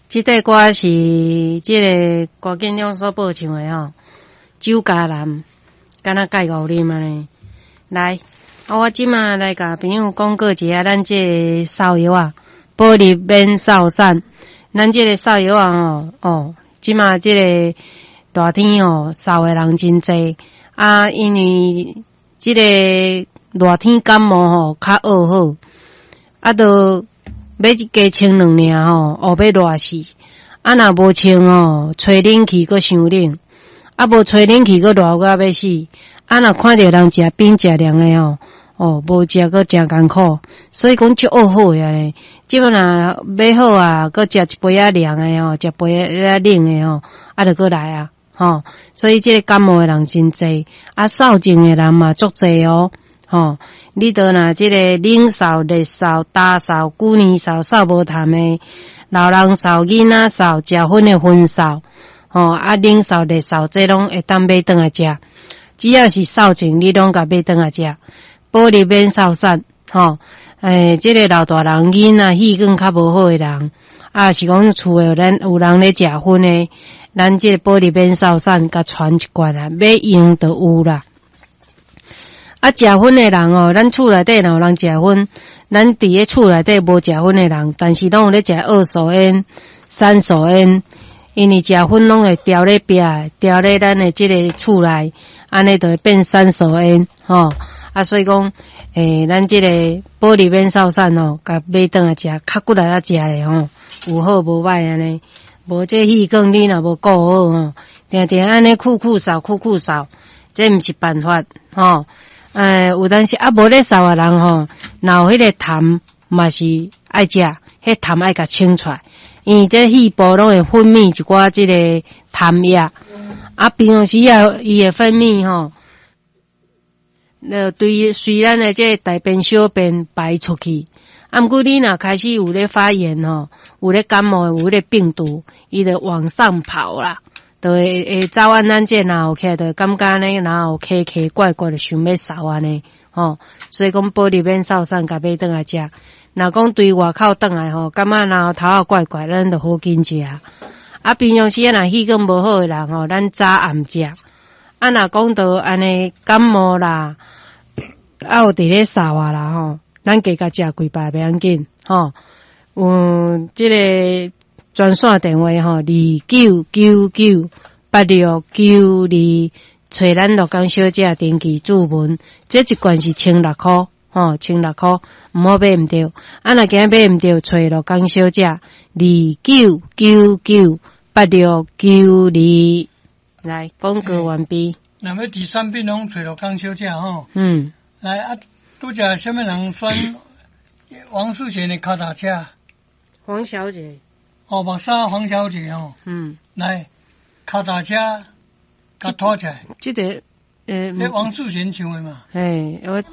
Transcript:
這塊歌是這个郭建勇所播唱的吼，酒家男，敢若蓋五啉按呢。來，啊，我這馬來共朋友廣告一下，咱這个掃藥仔，保入免掃散。咱這个掃藥仔吼，哦，這馬這个熱天吼，掃的人真濟啊，因為這个熱天感冒吼較惡好，啊，都欲加穿兩領吼，哦，欲熱死。啊，若無穿吼，吹冷氣閣傷冷，啊，無吹冷氣閣熱甲欲死。啊，若看著人食冰食涼的吼，哦，無食閣誠艱苦，所以講足惡好的按呢。這擺若欲好啊，閣食一杯仔涼的吼，食杯仔冷的吼，啊，就閣來啊，吼。所以這个感冒的人真濟，啊，掃症的人嘛足濟哦，吼。你著若這个冷嗽、熱嗽、焦嗽、久年嗽、嗽無痰的，老人嗽、囡仔嗽、食薰的薰嗽，吼，啊，冷嗽、熱嗽，這攏會當買轉來食。只要是掃症，你攏共買轉來食。保入免掃散，吼，欸，這个老大人、囡仔、氣管較無好的人，啊，是講厝的咱有人咧食薰的，咱這个保入免掃散，共傳一罐啊，欲用就有啦。啊，食薰的人哦，咱厝內底若有人食薰，咱佇咧厝內底無食薰的人，但是攏有咧食二手菸、三手菸，因為食薰攏會牢咧壁，牢咧咱的這个厝內，按呢就會變三手菸，吼。啊，所以講，欸，咱這个保入免掃散吼，共買轉來食，較骨力仔食咧吼，有好無歹按呢。無這氣管你若無顧好吼，定定按呢苦苦掃苦苦掃，這毋是辦法吼。欸，有當時啊，無咧掃的人吼，若有彼个痰嘛是愛食，彼痰愛共清出來，因為這肺部攏會分泌一寡這个痰液，啊，平常時啊，伊會分泌吼，對隨咱的這个大便小便排出去。啊，毋過你若開始有咧發炎吼，有咧感冒，有彼个病毒，伊就往上跑啦，就會走按咱這若有起來，就感覺按呢，若有咳咳怪怪的，想欲嗽按呢，吼。所以講保入免掃散，共買轉來食。若講對外口轉來吼，感覺若頭仔怪怪，咱就好緊食。啊，平常時啊，若氣管無好的人吼，咱早暗食。啊，若講到按呢感冒啦，啊有佇咧嗽啊啦吼，咱加共食幾擺袂要緊，吼。有這个專線電話吼，29998692，揣咱樂江小姐登記注文，這一罐是千六箍，吼，千六箍，毋好買毋著。啊，若今買毋著，揣樂江小姐29998692。來，廣告完畢。若欲佇產品攏揣樂江小姐吼。嗯。來啊，拄則啥物人選王淑賢的跤踏車？黃小姐。哦，目沙黃小姐吼。嗯。來，跤踏車，共拖起來。這個，這王淑賢唱的嘛。嘿，我。